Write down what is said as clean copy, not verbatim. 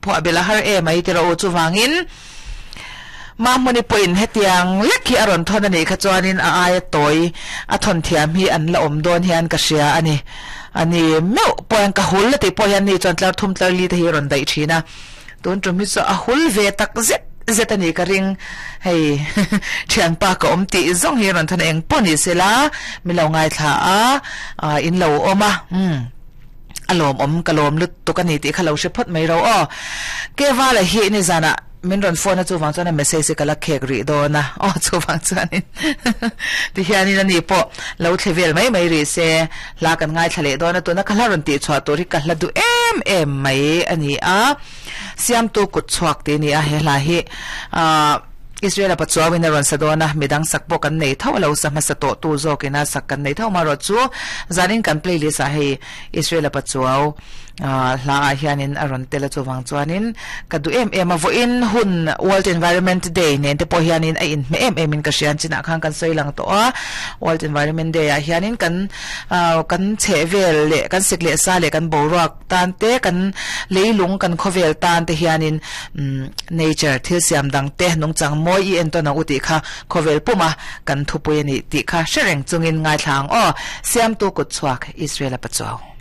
phuah belh a har em ai tiraw u chuvangin Mahmuni pawhin hetiang lek hi a rawn thawn a nih kha chuanin a aia tawi a thawn thiam hi an la awm dawn hian ka hria a ni. A ni meuh pawh hian ka hul a tih pawh hian ni chuan tlar thum tlar li te hi a rawn daih thin a. Tun tum hi chu a hul ve tak zet zet a nih ka ring. Hei thianpa ka awm tih zawng hi a rawn thawn a eng pawh ni sela min lo ngaithla a in lo awm a umm. A lawmawm ka lawm lutuk a ni tih kha lo hre phawt mai ro aw. Kevala hi nizanah min rawn phone a chuvang chuan a message hi ka la khek rih dawn a aw chuvang chuanin tihianin ani pawh lo thle vel mai mai rih se hla kan ngaithla leh dawn a tuna ka hla rawn tih chhuah tur hi ka hla duh em em mai a ni a siamtu kut chhuak tih a ni a he hla hi ah Israel-a pachuauin a rawn sa dawn a, midang sak pawh kan nei tho a lo sa hmasa tawh tu zawkin a sak kan nei tho amaherawh chu zanin kan playlist ah hei Israel-a pachuau hla ah hianin a rawn tel a chuvang chuanin ka duh em em a vawiin hun World Environment Day nen te pawh hianin a inhmeh em em in ka hria chinah khan kan sawi lang tawh a World Environment Day ah hianin kan kan chhehvel leh kan sik leh sa leh kan boruak tan te kan leilung kan khawvel tan te hianin Nature thil siam dang te nungchang mawi i entawn ang u tih kha khawvel puma kan thupui a ni tih kha hre reng chungin ngaithla ang aw. Siamtu kut chhuak Israel-a pachuau.